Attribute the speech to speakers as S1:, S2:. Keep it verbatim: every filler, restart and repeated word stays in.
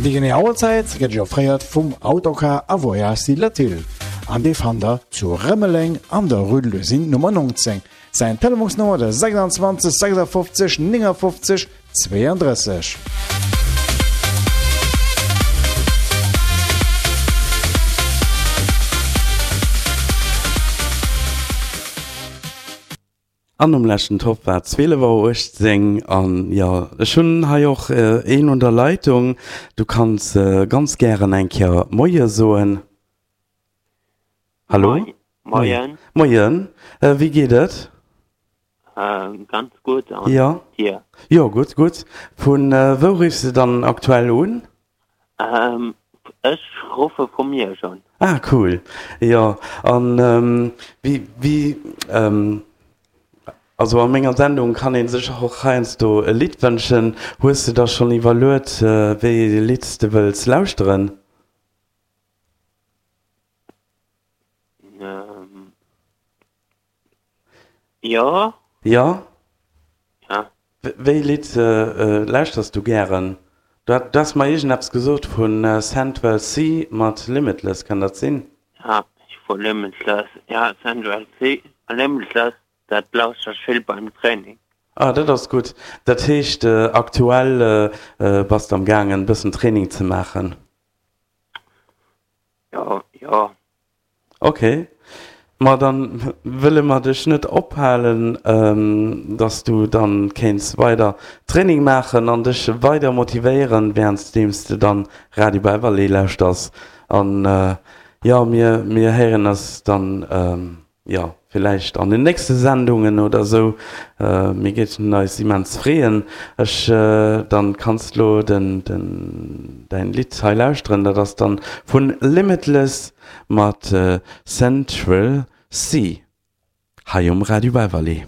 S1: Déi genee Auerzäit gëtt Iech offréiert vum Autocar a Voyages Latil an dee fannt der zu Rëmeleng an der Rue de l'Usine Nummer neunzéng. Säin Telefonsnummer de sechsundzwanzeg sechsundfünfzig neunundfünfzig zweiunddrësseg.
S2: An um leschten Topp war zwielef Auer uechtzéng. An jo, ech hunn hei och een un der Leitung. Du kanns ganz gären eng Kéier Moie soen. Hallo?
S3: Moien.
S2: Moien. Wéi geet et?
S3: Ganz gutt, an dir?
S2: Jo, gutt, gutt. Vu wou riffs de dann aktuell un?
S3: Ech ruffe vu Miersch un.
S2: Ah, cool. Jo, an wéi, wéi, also a menger Sendung kann ee sech och heiansdo e Lidd wënschen. Hues de der schonn iwwerluet, wéi ee Lidd s de wëlls lauschteren?
S3: Jo.
S2: Jo?
S3: Ja.
S2: Wéi Lidd lauschters du gären? Du has mer iergendeppes gesot vu Central Cee mat Limitless, kann dat sinn?
S3: Ja, vu Limitless, ja, Central Cee a Limitless, dat lauschter ech vill beim Training.
S2: Ah, dat ass gutt. Dat heescht aktuell bass de am gaangen e bëssen Training ze maachen?
S3: Jo, jo.
S2: Ok, ma dann wëlle mer dech net ophalen, dass du dann kéints weider Training maachen an dech weider motivéieren währenddeems de dann Radio Beverley lauschters. An jo, mir mir héieren eis dann jo villäicht an den nächste Sendungen oder sou. Mir géifen eis immens freeën. Ech dann kanns lo den den däin Lidd hei lauschteren, dat ass dann vun Limitless mat Central Cee hei um Radio Beverley.